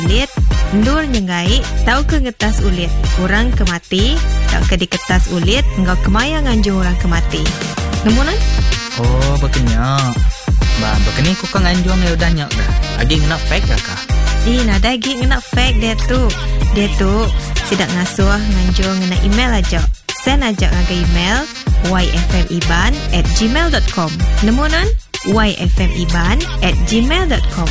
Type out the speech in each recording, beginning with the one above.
Ulit, endur nyenggai tauka ngetas ulit orang ke mati tauka diketas ulit enggau kemaya nganjung orang ke mati. Nemu nuan? Oh, baka nya. Ba, baka ni ku ka nganjung iya udah nya ga. Agi ngena fax ga ka? Ih, nadai agi ngena fax diatu. Diatu, sida ngasuh nganjung ngena email aja. Send aja ngagai email yfmiban at gmail dot com. Nemu nuan? yfmiban at gmail dot com.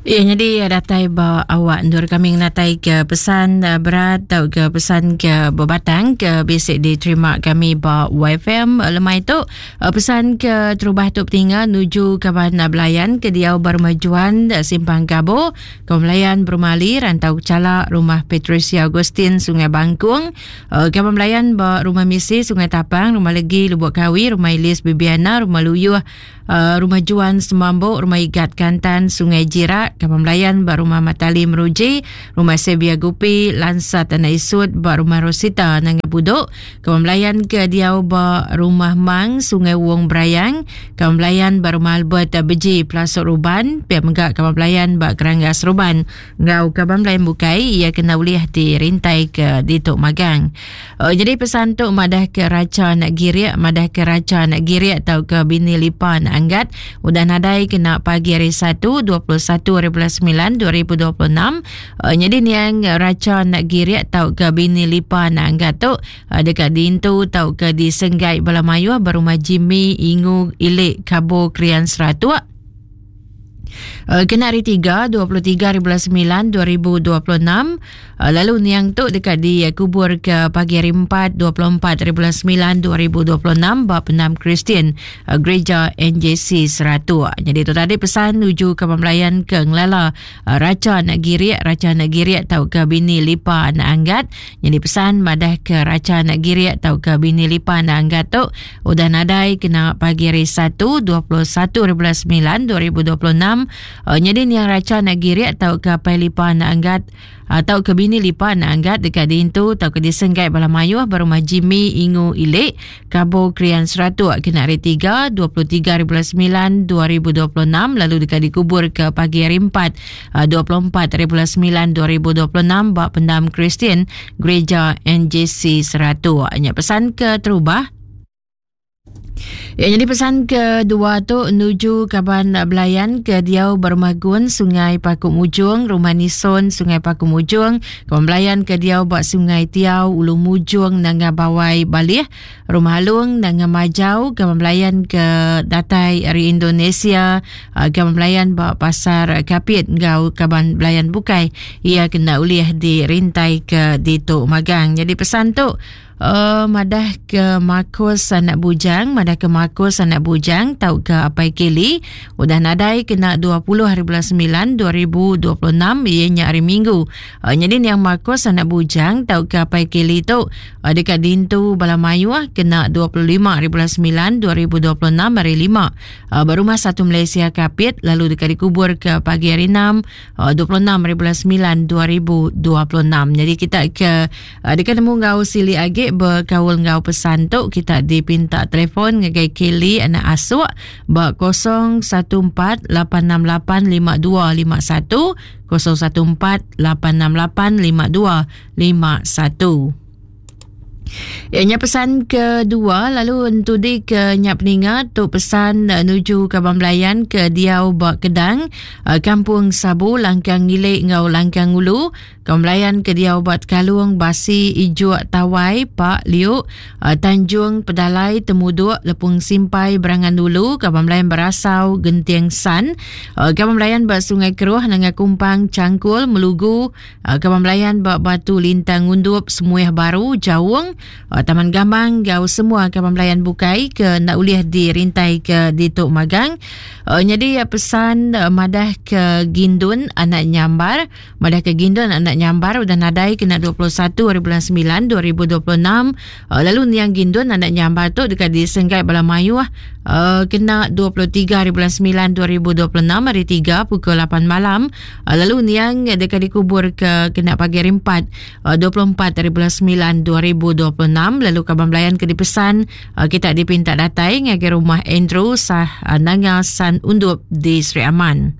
Ya, jadi datai ba awak endur kami ngenatai ke pesan eh, berat atau ke pesan ke bebatang ke bisi diterima kami ba YFM lemai tu. Eh, pesan ke terubah tu petinga nuju kaban belayan ke diau bermajuan eh, Simpang Gabo, Kaban belayan Berumah Ali, Rantau Kecala, Rumah Patricia Augustine, Sungai Bangkung, Kaban belayan ba Rumah Misi, Sungai Tapang, Rumah Legi, Lubuk Kawi, Rumah Ilis Bibiana, Rumah Luyuh, Uh, Rumah Juan Semambuk, Rumah Igat Kantan, Sungai Jirak, Kampung Belayan ba Rumah Matali Meruji, Rumah Sebia Gupi, Lansa Tanah Isut ba Rumah Rosita Nanga Budok, Kampung Belayan ke diau ba Rumah Mang, Sungai Wong Berayang, Kampung Belayan ba Rumah Albert Beji, Pelasok Ruban, pia mega Kampung Belayan ba Keranggas Ruban enggau kaban belayan bukai iya kena ulih dirintai ke ditu magang. Oh, jadi pesan tu madah ke racha anak girik, madah ke racha anak girik tau ke bini lipa anak anggat udah nadai kena pagi hari 1 21 hari bulan 9 2026. Oh, jadi niang racha anak girik tau ke bini lipa anak anggat tu uh, dekat diintu tau ke disenggai bala mayuh berumah Jimmy Ingu Ilik Kabo Krian Seratuk. Uh, kena hari 3, 23 hari bulan 9, 2026. Uh, lalu niang tu dekat dikubur ke pagi hari 4, 24 hari bulan 9, 2026 ba Penam Kristian uh, Gereja NJC Seratuk. Jadi tu tadi pesan nuju ke pemelayan ke ngelala uh, Raja Anak Girik, Raja Anak Girik tau ke bini Lipa Anak Anggat. Jadi pesan madah ke Raja Anak Girik tau ke bini Lipa Anak Anggat tu Udah nadai kena pagi hari Satu, 21 hari bulan 9, 2026, uh, nyadi niang racha anak girik tauka apai lipa anak anggat uh, tauka bini lipa anak anggat deka diintu tauka disenggai bala mayuh ba rumah Jimmy Ingu Ilik, Kabo Krian Seratuk kena hari 3, 23 hari bulan 9, 2026 lalu deka dikubur ke pagi hari 4, uh, 24 hari bulan 9, 2026 ba Pendam Kristian Gereja NJC Seratuk. Nya pesan ke terubah. Ya, jadi pesan kedua tu nuju kaban belayan ke diau berumah Gun Sungai Paku Mujung, Rumah Nison Sungai Paku Mujung, kaban belayan ke diau ba Sungai Tiau, Ulu Mujung Nanga Bawai Balih, Rumah Alung Nanga Majau, kaban belayan ke datai ari Indonesia, ah, kaban belayan ba Pasar Kapit enggau kaban belayan bukai ia kena ulih dirintai ke ditu magang. Jadi pesan tu Uh, madah ke Marcus anak bujang, madah ke Marcus anak bujang tauka apai Kelly udah nadai kena 20 hari bulan 9 2026 iya nya hari Minggu. Uh, jadi niang Marcus anak bujang tauka apai Kelly tu uh, deka dintu bala mayuh kena 25 hari bulan 9 2026 hari 5 uh, ba rumah satu Malaysia Kapit lalu deka dikubur ke pagi hari 6 26 hari bulan 9 2026. Jadi kita ke uh, deka nemu enggau sili agi bekaul enggau pesan tu kita dipinta telefon ngagai Kelly anak asuk ba 014 868 5251 014 868 5251. Ya, nya pesan kedua lalu entudi ke nya peninga tu pesan eh, nuju kaban belayan ke diau ba Kedang eh, Kampung Sabu Langkang Ngilik enggau Langkang Ulu kaban belayan ke diau ba Tekalung Basi Ijuk Tawai Pak Liuk eh, Tanjung Pedalai Temuduk Lepung Simpai Berangan Ulu kaban belayan Berasau Genting San kaban belayan ba Sungai Keruh Nanga Kumpang Changkul Melugu Ah, kaban belayan ba Batu Lintang Ngundup Semuih Baru Jaung ah, Taman Gamang enggau semua kaban belayan bukai ke enda ulih dirintai ke ditu magang. Uh, nyadi pesan uh, madah ke Gindun anak Nyambar, madah ke Gindun anak Nyambar udah nadai kena 21 hari bulan 9 2026. Uh, lalu niang Gindun anak Nyambar tu deka disenggai bala mayuh uh, kena 23 hari bulan 9 2026 hari 3 pukul 8 malam. Ah, lalu niang deka dikubur ke kena pagi hari 4 24 ah, hari bulan 9 2026 lalu kaban belayan ke dipesan ah, kita dipinta datai ngagai rumah Andrew Sah Nanga San Undup di Sri Aman.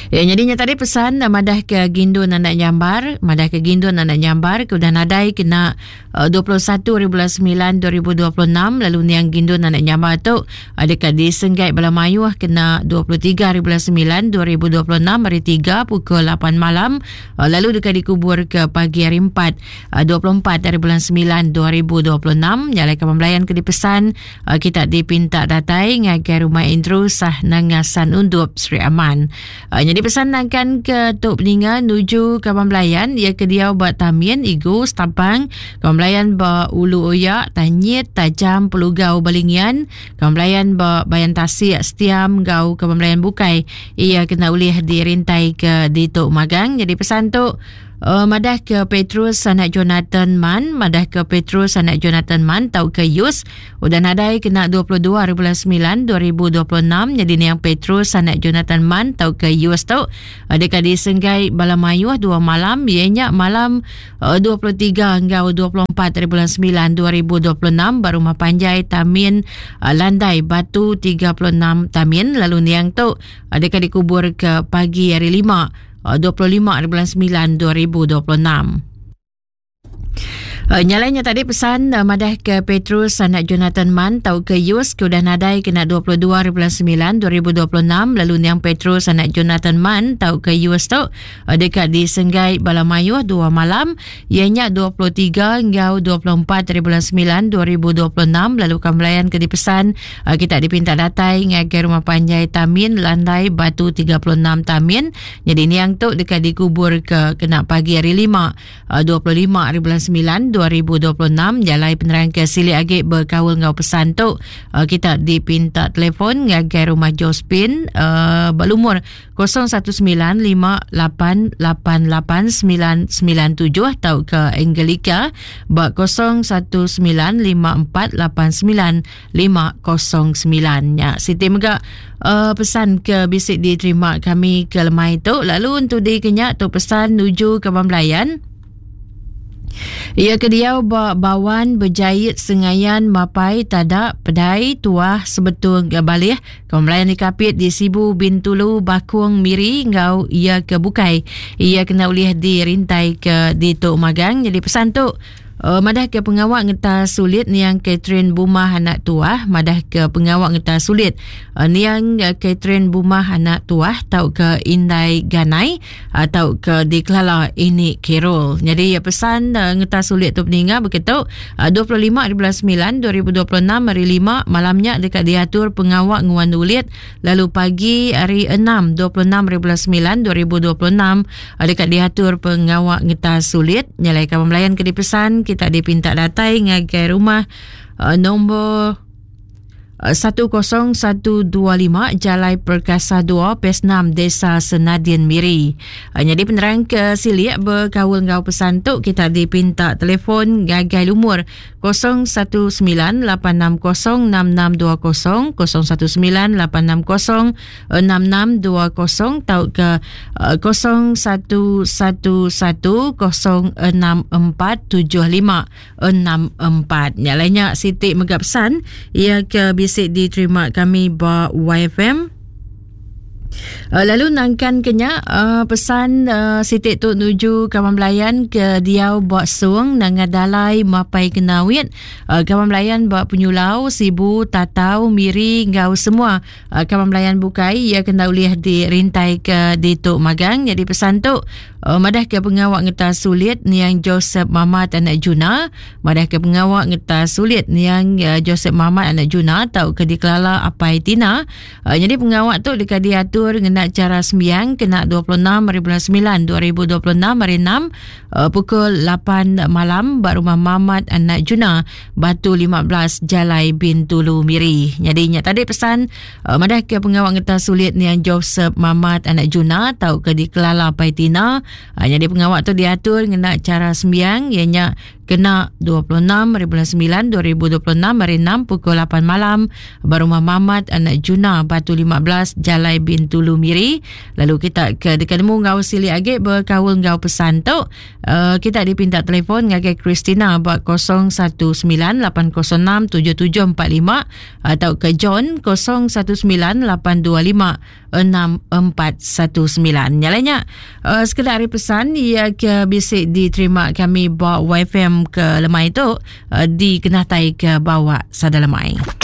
Ya, nyadi nya tadi pesan eh, madah ke Gindun anak Nyambar, madah ke Gindun anak Nyambar ke udah nadai kena 21 hari bulan 9 2026 lalu niang Gindun anak Nyambar tu eh, dekat disenggai bala mayuh kena 23 hari bulan 9 2026 hari 3 pukul 8 malam eh, lalu dekat dikubur ke pagi hari 4 24 hari bulan 9 2026 nyalai ke pembelayan ke dipesan Kita dipinta datai ngagai rumah Andrew sah Nangasan Undup Sri Aman. Nyadi pesan nangkan ke tu peninga nuju kaban belayan ia ke diau ba Tamin, Igu, Stapang, kaban belayan ba Ulu Oya, Tanyit, Tajam, Pelugau, Balingian, kaban belayan ba Bayan Tasik, Setiam enggau kaban belayan bukai ia kena ulih dirintai ke ditu magang. Nyadi pesan tu Uh, madah ke Petrus anak Jonathan Man, madah ke Petrus anak Jonathan Man tauka Yus udah nadai kena 22 hari bulan 9 2026 jadi niang Petrus anak Jonathan Man tauka Yus tu uh, deka disenggai bala mayuh dua malam iya nya malam uh, 23 enggau 24 hari bulan 9 2026 ba rumah panjai Tamin uh, Landai Batu 36 Tamin lalu niang tu uh, deka dikubur ke pagi hari 5 25 hari bulan 9 2026. Nyalai nya tadi pesan uh, madah ke Petrus anak Jonathan Man tau ke Yus ke udah nadai kena 22 hari bulan 9 2026 lalu niang Petrus anak Jonathan Man tau ke Yus tu uh, dekat disenggai bala mayuh dua malam iya nya 23 enggau 24 hari bulan 9 2026 lalu kambelayan ke dipesan uh, kita dipinta datai ngagai rumah panjai Tamin Landai Batu 36 Tamin Jadi niang tu deka dikubur ke kena pagi hari 5 25 eh, hari bulan 9 2026 jalai penerang ke silik agi berkaul enggau pesan tu eh, kita dipinta telefon ngagai rumah Josephine uh, berlumur 0195888997 tau ke Angelica ba 0195489509 nya siti mega uh, pesan ke bisi diterima kami ke lemai tu lalu untuk di kenya tu pesan nuju ke Belayan Ia ke diau ba Bawan Bejait Sengayan Mapai Tada Pedai Tuah Sebetung Balih Kaum Belayan di Kapit di Sibu Bintulu Bakung Miri enggau ia ke bukai ia kena ulih dirintai ke ditu magang jadi pesan tu Uh, madah ke pengawa ngeta sulit niang Catherine Bumah anak tuah madah ke pengawa ngeta sulit uh, niang uh, Catherine Bumah anak tuah tau ke Indai Ganai atau uh, ke dikelala ini Carol. Jadi ya pesan uh, ngeta sulit tu peninga begitu uh, 25 di bulan 9 2026 hari 5 malamnya dekat diatur pengawa nguan ulit lalu pagi hari 6 26 hari bulan 9 2026 deka diatur pengawa ngetas sulit nyalai kaban belayan ke dipesan kita dipinta datai ngagai rumah uh, nombor 10125 Jalai Perkasa 2 Pes 6 Desa Senadin Miri. Uh, jadi penerang ke silik berkaul enggau pesan tu kita dipinta telefon ngagai lumur 019 860 6620 019 860 6620 tauka 0111064754. Nya lainnya Siti mega pesan ia ke bisi diterima kami ba YFM. Lalu nangkan ke nya pesan siti tu nuju kaban belayan ke diau ba Song nanga Dalai Mapai Kenawit kaban belayan ba Penyulau Sibu Tatau Miri enggau semua Kaban belayan bukai iya kena ulih dirintai ke ditu magang nyadi pesan tu madah ke pengawa ngetas sulit niang Joseph Mamat anak Juna madah ke pengawa ngetas sulit niang Joseph Mamat anak Juna tauka dikelala Apai Tina nyadi pengawa tu deka diatur ngena chara sembiang kena 26 hari bulan 9 2026 hari 6 pukul 8 malam ba rumah Mamat anak Juna Batu 15 Jalai Bintulu Miri. Nyadi nya tadi pesan uh, madah ke pengawa ngetas sulit niang Joseph Mamat anak Juna tau ke dikelala Pai Tina. Uh, nyadi pengawa tu diatur ngena cara sembiang iya nya kena 26 hari bulan 9 2026 hari 6 pukul 8 malam ba rumah Mamat anak Juna Batu 15 Jalai Bintulu Miri. Lalu kita ke deka nemu enggau silik agi bekaul enggau pesan tu Uh, kita dipinta telefon ngagai Christina ba 0198067745 atau ke John 019825 6419. Nya alai nya uh, sekeda ari pesan ia ke bisi diterima kami ba YFM ke lemai tu uh, dikenatai ke bawa sada lemai.